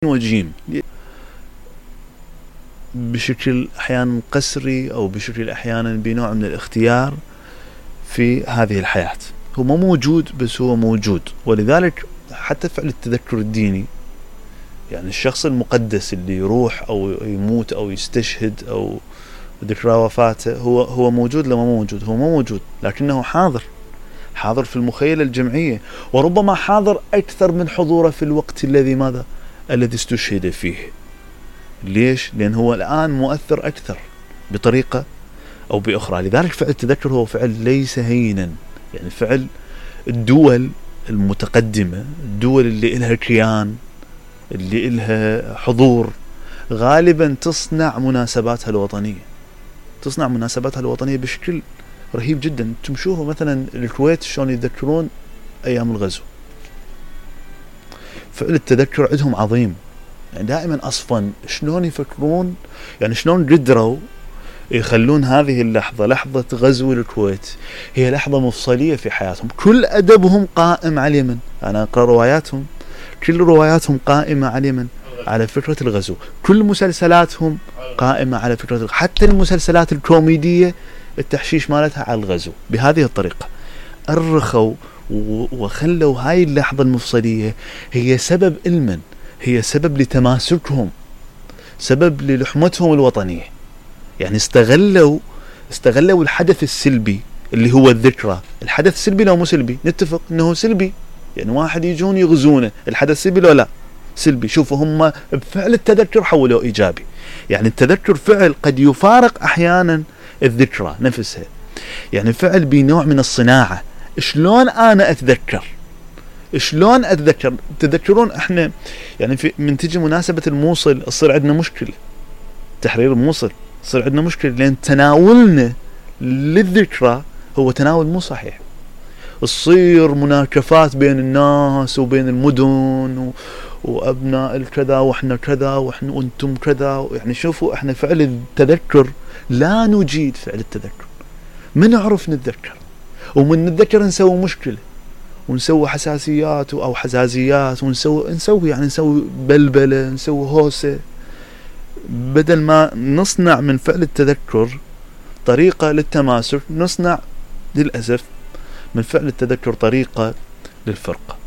وجيم بشكل أحيانا قسري أو بشكل أحيانا بنوع من الاختيار في هذه الحياة. هو ما موجود بس هو موجود، ولذلك حتى فعل التذكر الديني، يعني الشخص المقدس اللي يروح أو يموت أو يستشهد أو ذكرى وفاته هو موجود لما موجود، هو ما موجود لكنه حاضر في المخيلة الجمعية، وربما حاضر أكثر من حضوره في الوقت الذي استشهد فيه. ليش؟ لأن هو الآن مؤثر أكثر بطريقة أو بأخرى. لذلك فعل التذكر هو فعل ليس هينا، يعني فعل الدول المتقدمة، الدول اللي إلها كيان، اللي إلها حضور، غالبا تصنع مناسباتها الوطنية بشكل رهيب جدا. تمشوه مثلا الكويت شلون يذكرون أيام الغزو، فعل التذكر عندهم عظيم، يعني دائما أصفا شلون يفكرون، يعني شلون قدروا يخلون هذه اللحظة، لحظة غزو الكويت، هي لحظة مفصلية في حياتهم. كل أدبهم قائم على اليمن، أنا أقرأ رواياتهم، كل رواياتهم قائمة على اليمن، على فكرة الغزو. كل مسلسلاتهم قائمة على فكرة الغزو، حتى المسلسلات الكوميدية التحشيش مالتها على الغزو. بهذه الطريقة أرخوا وخلوا هاي اللحظة المفصلية هي سبب علما، هي سبب لتماسكهم، سبب للحمتهم الوطنية. يعني استغلوا الحدث السلبي اللي هو الذكرى. الحدث سلبي لو مو سلبي؟ نتفق انه سلبي، يعني واحد يجون يغزونه، الحدث سلبي لو لا؟ سلبي. شوفوا هم بفعل التذكر حولوا ايجابي. يعني التذكر فعل قد يفارق احيانا الذكرى نفسها، يعني فعل بنوع من الصناعة. شلون انا اتذكر؟ تذكرون احنا يعني من تجي مناسبة الموصل تصير عندنا مشكلة، تحرير الموصل تصير عندنا مشكلة، لأن تناولنا للذكرى هو تناول مو صحيح. تصير مناكفات بين الناس وبين المدن وأبناء الكذا وإحنا كذا وأنتم كذا. يعني شوفوا احنا فعل التذكر لا نجيد فعل التذكر، ما نعرف نتذكر، ومن نتذكر نسوي مشكلة ونسوي حساسيات أو حزازيات، ونسوي بلبلة، نسوي هوسة، بدل ما نصنع من فعل التذكر طريقة للتماسك، نصنع للأسف من فعل التذكر طريقة للفرقة.